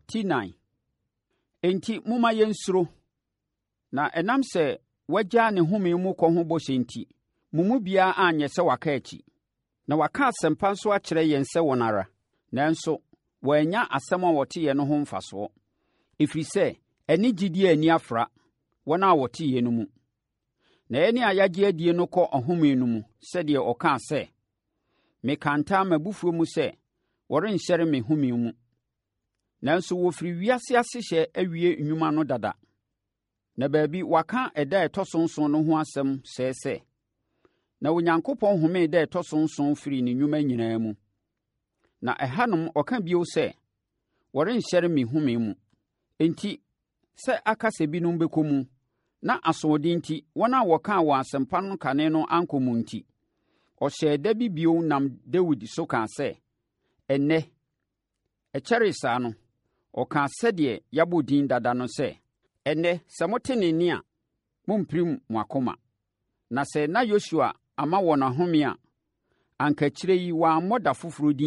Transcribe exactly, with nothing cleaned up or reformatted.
Ti nnan. Enti momma yɛnsuro, na ɛnam sɛ wɔagyaa ne home mu kɔ ho bɔhyɛ nti, mo mu biara anyɛ sɛ waka akyi. Na wɔaka asɛmpa nso akyerɛ yɛn sɛ wɔn ara, nanso wɔannya asɛm a wɔteeɛ no ho mfasoɔ, ɛfiri sɛ ɛne gyidie anni afra wɔn a wɔteeɛ no mu. Na yɛn a yɛagye adie no kɔ ɔhome no mu sɛdeɛ ɔkaa sɛ, Mekaa ntam m'abufuo mu sɛ, wɔrenhyɛne me home mu. Nanso wɔfiri wiase asehyɛ awie nnwuma no dada. Na baabi wɔaka ɛda a ɛtɔ so nson no ho asɛm sɛɛ sɛ, Na Onyankopɔn homee da a ɛtɔ so nson firii ne nnwuma nyinaa mu. Na ɛhanom ɔka bio sɛ, Wɔrenhyɛne me home mu. Enti, sɛ aka sɛ binom bɛkɔ mu, na asoɔden nti wɔn a wɔkaa wɔn asɛmpa no kane no ankɔ mu nti, ɔhyɛɛ da bi bio nam Dawid so kaa sɛ, Ɛnnɛ, ɛkyɛree saa no, ɔkaa sɛdeɛ yɛabɔ din dada no sɛ, Ɛnnɛ, sɛ mote ne nne a, mommpirim mo akoma. Na sɛ na Yosua ama wɔn ahome a, anka akyire yi wammɔ da foforɔ din